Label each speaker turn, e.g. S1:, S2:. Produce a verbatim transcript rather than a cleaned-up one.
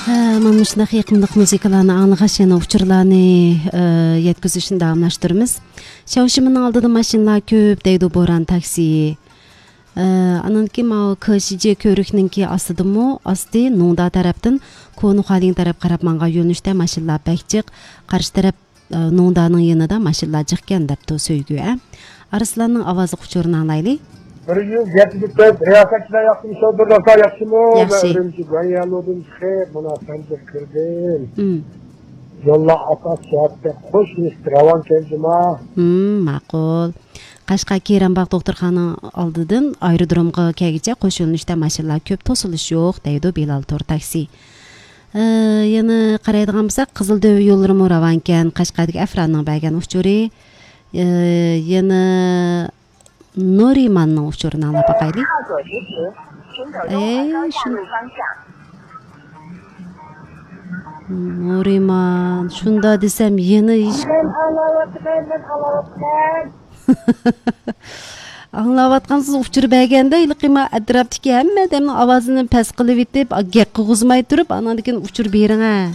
S1: Mana ушундай ыкмдык музыкаларны аңлагач жана учурларны жеткизишин давамлаштырабыз. Шаушимдин алдыда машиналар көп дейди Боран такси. Анан ким ал КШЖ көрүкнүнки астыдымы, асты Нунда тараптын Кону Халин тарап карап манга юнушта машиналар бек жык, каршы тарап Нунданын янында машиналар жык экен депти сөйгү. Арсландын авазы учурун аңлайлы.
S2: Bir yüz yetmiş dört riyasatçılar yaptım, şodurlarsa yaptım o. Öğrenci Ganyanlı'dın çıkıp, buna sence kırdım. Yolla atas şahatte hoş mistir, avan kendime.
S1: Makul. Кашка Кейранбак доктурханын алдыдын аэродромго келгиче кошулунушта машиналар көп, тосулуш жок дейди Билал Тор такси. Яны карайдыган болсак, Кызыл Дөбө жолдору мураван экен, Кашкадагы Афранын байган учуру. Яны Нориманның учурун аңлап бакайлы. Нориман, шунда десем, ени иш. Аңлап аткансыз учур бергенде илкима атраптыки эмме демин авазын пас кылып итип, гек кыгызмай туруп, анан кийин учур бериң а.